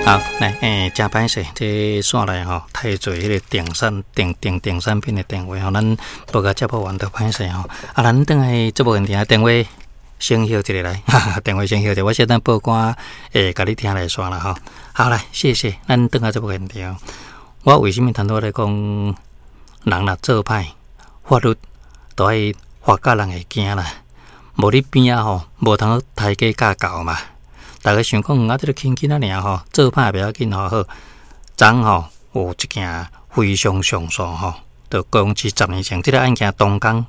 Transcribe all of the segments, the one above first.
好，來，誠歹勢，這線內吼太濟彼个電產電電電產品的電話吼，咱報共接無完就歹勢吼。啊，咱轉來節目現場電話先翕一下來，哈哈，電話先翕一下，我小等報歌會共你聽來煞啦吼。好來，謝謝，咱轉來節目現場。我為啥物頭拄仔咧講，人若做歹，法律都愛罰甲人會驚啦。無你邊仔吼，無通刣雞教狗嘛。逐家想講啊，這個輕輕仔爾吼，做歹袂要緊吼。好，昨昏吼有一件非常上訴吼，就講是十年前這个案件當工，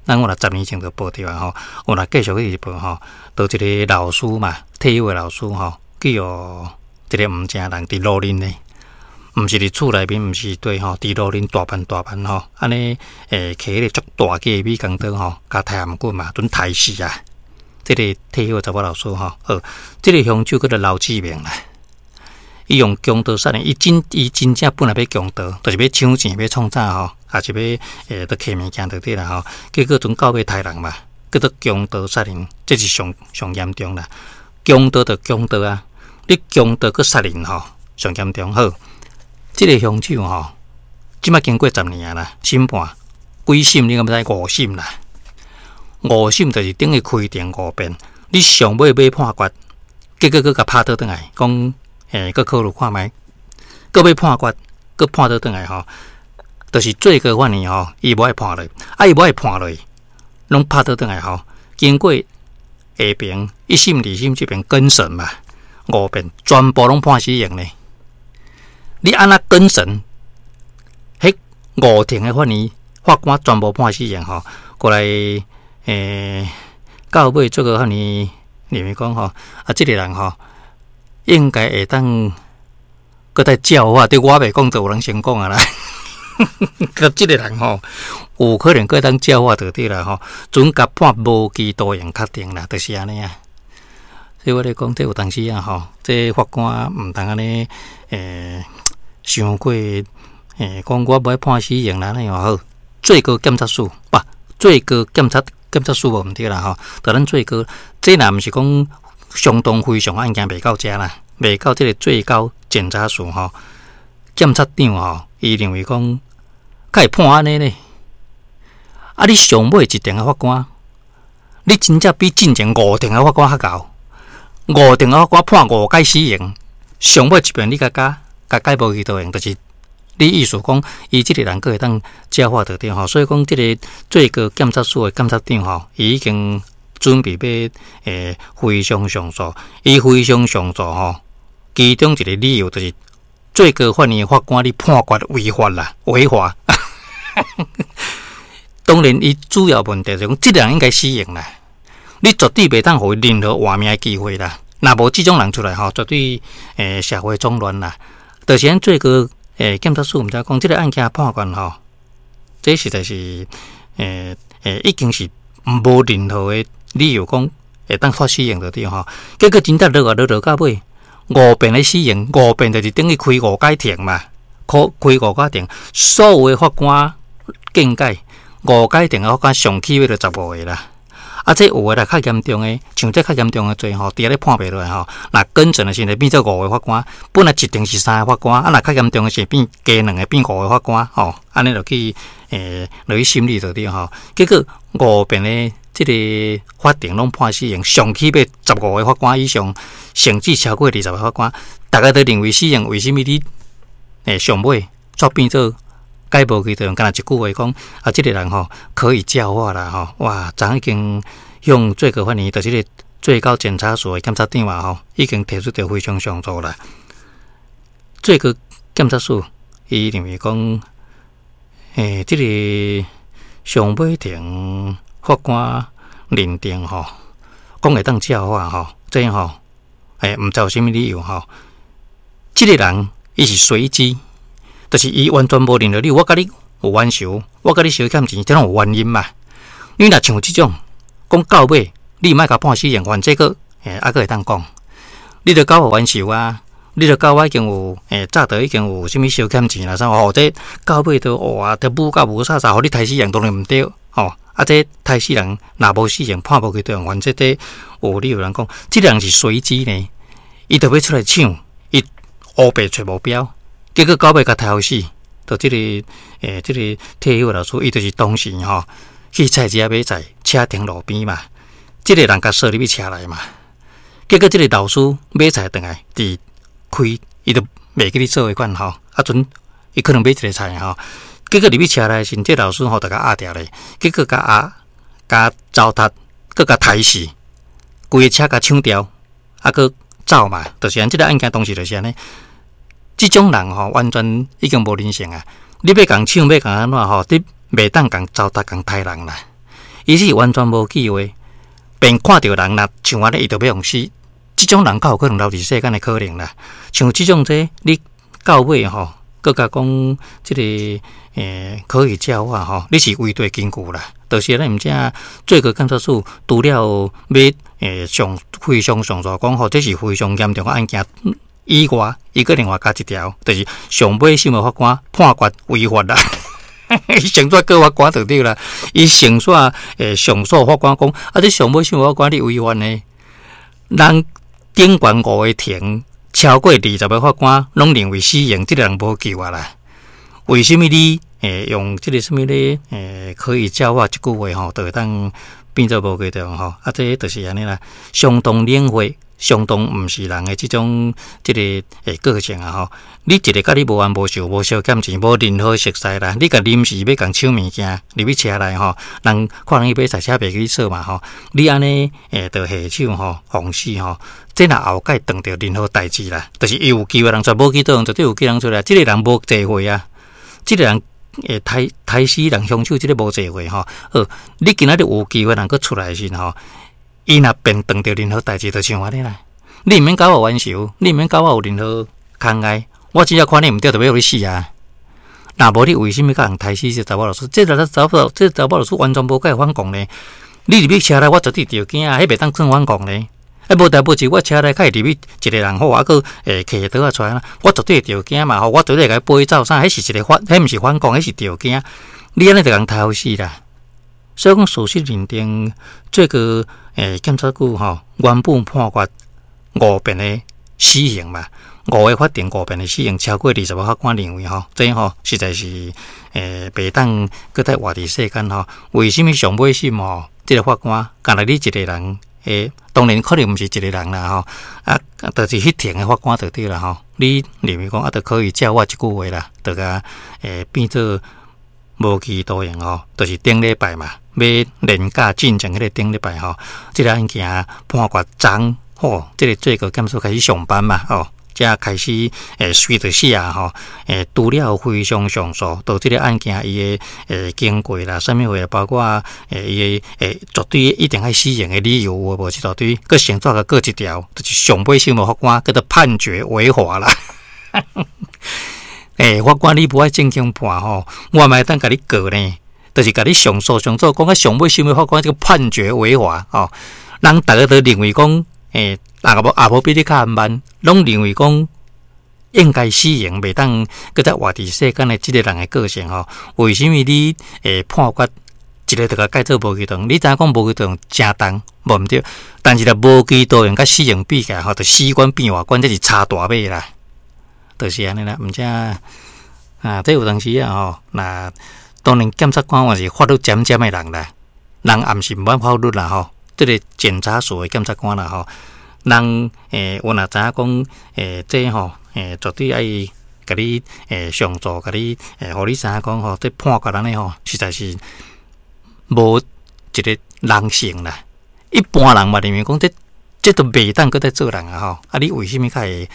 咱我若十年前就報著啊吼，有若繼續去報吼，就一个老師嘛，退休的老師吼，去予一个毋正人佇路面呢，毋是佇厝內面，毋是對吼，佇路面大範大範吼，按呢揢彼个足大支的美工刀吼，共刣頷頸嘛，準刣死啊！這个退休的查某老師吼，好，這个兇手叫做劉志明啦。伊用強盜殺人，伊真正本來欲強盜，就是欲搶錢、欲創啥吼，抑是欲去揢物件就對啦吼。結果陣到尾刣人嘛，叫做強盜殺人，這是上上嚴重啦。強盜就強盜啊，你強盜閣殺人吼，上嚴重。好，這个兇手吼，這擺經過十年啊啦，審判幾審你敢知？五審啦。五審就是等於開庭五遍，你上尾欲判決，結果閣共拍倒轉來，講閣考慮看覓，閣欲判決，閣判倒轉來吼，就是最高法院吼，伊無愛判落，啊伊無愛判落，攏拍倒轉來吼，經過下爿一審、二審這邊更審嘛，五遍全部攏判死刑呢。你按怎更審？彼五庭的法院法官全部判死刑吼，過來。到尾最高法院認為講吼，啊，這个人吼，應該會當閣再教化，對我袂講，就有人先講啊啦。佮這个人吼，有可能閣當教化就對啦吼，準共判無期徒刑確定啦，就是按呢啊。所以我咧講，這有當時啊吼，這法官毋通按呢，傷過，講我無愛判死刑啦，按呢好，最高檢察署不，最高檢察。檢察署無毋對啦吼，就咱最高，這若毋是講相當非常案件袂到遮啦，袂到這个最高檢察署吼，檢察長吼，伊認為講，敢會判按呢呢？啊，你上尾一庭的法官，你真正比進前五庭的法官較𠢕，五庭的法官判五擺死刑，上尾一遍你共加，共改無期徒刑，就是。你意思講，伊這个人閣會當教化就對吼，所以講這个最高檢察署的檢察長吼，伊已經準備欲非常上訴，伊非常上訴吼，其中一个理由就是最高法院法官你判決違法啦，違法。當然，伊主要問題就是講，這个人應該死刑啦，你絕對袂當予伊任何活命的機會啦。若無這種人出來吼，絕對社會總亂啦。就是咱最高。檢察署毋知講，這个案件判決吼，這實在是已經是無任何的理由講會當發死刑就對吼。結果真正落啊落落到尾，五遍的死刑，五遍就是等於開五擺庭嘛，開開五擺庭，所有的法官見解，五擺庭的法官上起碼就15個啦。啊，這有的啦較嚴重的，像這較嚴重的罪吼，佇遐咧判袂落來吼，若更審的時陣變做五個法官，本來一庭是三個法官，啊，若較嚴重的是變加兩個，變五個法官吼，按呢落去落去審理就對吼。結果五遍的這个法庭攏判死刑，上起碼15個法官以上，甚至超過20個法官，逐家都認為死刑，為啥物你上尾煞變做？改無期徒刑，干焦一句話講，啊，這个人吼可以教化啦吼，哇，昨已經向最高法院，就是這个最高檢察署的檢察長啊吼，已經提出著非常上訴啦。最高檢察署伊認為講，這个上尾庭法官認定吼，講會當教化吼，這吼，毋知有啥物理由吼，這个人伊是隨機。就是伊完全無任何理由，我共你有冤仇，我共你相欠錢，這攏有原因嘛。你若像這種講到尾，你莫共判死刑，反正閣猶閣會當講，你著共我有冤仇啊，你著共我已經有早就已經有啥物相欠錢啦啥吼，這到尾都哇，都武甲無啥啥，予你刣死人當然毋對吼。啊，這刣死人若無死刑判無期徒刑，反正這有理由人講，這個人是隨機呢，伊著欲出來搶，伊烏白揣無標，結果到尾共刣死。就這個退休老師，伊就是當時吼去菜市仔買菜，車停路邊嘛，這個人共鎖入去車內嘛。結果這個老師買菜轉來，佇開，伊就袂記咧做彼款吼，啊陣伊可能買一个菜吼，結果入去車內時，這個老師吼就共壓牢咧，結果共壓、共糟蹋，閣共刣死，規个車共搶掉，啊，閣走嘛，就是按這个案件當時就是按呢。這種人吼，完全已經無人性啊！你欲共搶，欲共按怎吼，你袂當共糟蹋、共刣人啦。伊是完全無機會，便看著人若像按呢，伊就欲予死。這種人較有可能留佇世間的可能啦。像這種這，你到尾吼，閣共講這個可以教化吼，你是違對根據啦。就是咱毋知最高檢察署除了欲上非常上訴講吼，這是非常嚴重的案件以外，伊閣另外加一條，就是上尾審的法官判決違法啦。伊先煞告法官就對啦，伊先煞上訴法官講，啊，這上尾審法官你違法呢？人頂懸五個庭，超過20個法官攏認為死刑，這個人無救啊啦。為什麼你用這個什麼咧？可以教化這句話吼，就會當變做無期徒刑吼？啊，這就是按呢啦，相當冷血，相當毋是人的這種這個個性啊吼。你一个佮你無冤無仇、無相欠錢、無任何熟似啦，你共臨時欲共搶物件入去車內吼，人看人去買菜，車袂記咧鎖嘛吼。你按呢就下手吼，予死吼，這若後蓋當著任何代誌啦，就是伊有機會人出來，無期徒刑絕對有機會人出來。這个人無罪歲啊，這个人刣刣死人兇手，這个無罪歲吼。好，你今仔日有機會人閣出來時吼，伊若變當著任何代誌，就像按呢啦。你毋免佮我冤仇，你毋免佮我有任何牽礙，我只要看你毋對，就欲予你死啊！若無你為什麼共人刣死這查某老師？這個查某老師完全無共伊反抗呢？你入去車內，我絕對著驚啊！彼袂當算反抗呢？啊，無代無誌，我車內較會入去一个人好，啊，閣提刀仔出來，我絕對會著驚嘛！吼，我絕對會共伊飛走啥？彼是一个反，彼毋是反抗，彼是著驚。你按呢就共刣死啦！所以講事實認定，這個檢察局吼原本判決五遍的死刑嘛，五个法庭五遍的死刑，超過20個法官認為吼，這吼實在是袂當閣再活佇世間吼。為什麼上尾審吼？這个法官干焦你一个人當然可能毋是一个人啦吼，啊，就是彼庭的法官就對啦吼。你認為講啊，就可以教化這句話啦，就共變做無期徒刑吼，就是頂禮拜嘛，欲連假進前彼个頂禮拜吼，這个案件判決昨吼，這个最高檢察開始上班嘛吼，才開始隨著寫吼，除了非常上訴，到這个案件伊的經過啦，啥物貨，包括伊的絕對一定愛死刑的理由有無這大堆，閣先煞共閣一條，就是上尾審的法官叫做判決違法啦。法官你無愛正經判吼，我嘛會當共你告呢，就是共你上訴上訴，講啊上尾審的法官這个判決違法吼，人逐个都認為講，也無也無比你較慢，攏認為講應該死刑，袂當閣再活佇世間的這个人的個性吼。為什麼你判決一个就共改做無期徒刑？你知影講無期徒刑誠重，無毋對，但是若無期徒刑佮死刑比起來吼，就死懸變活懸，這是差大碼啦。就是按呢啦，毋知啊，這有當時啊吼，若當然檢察官嘛是法律尖尖的人啦，人也毋是毋捌法律啦吼，這个檢察署的檢察官啦吼，人有若知影講這吼絕對愛共你上訴，共你予你知影講吼，這判決按呢吼，實在是無一个人性啦。一般人嘛認為講這這都袂當閣再做人啊吼，啊你為什麼較會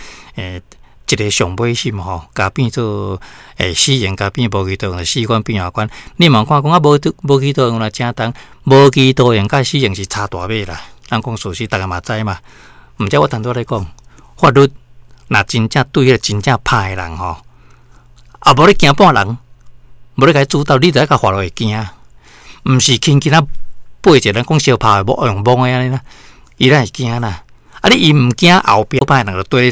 一个上尾審吼，共變做死刑，共變無期徒刑，死懸變活懸。你嘛看講啊，無無期徒刑若誠重，無期徒刑佮死刑是差大碼啦。咱講事實，逐个嘛知嘛。毋知我頭拄仔咧講，法律若真正對彼个真正歹的人吼，啊無咧驚半人，無咧共伊主導，你就愛共法律會驚，毋是輕輕仔背一个人講相拍無用摸的按呢啦，伊咱會驚啦。啊，你伊毋驚後壁歹人就對。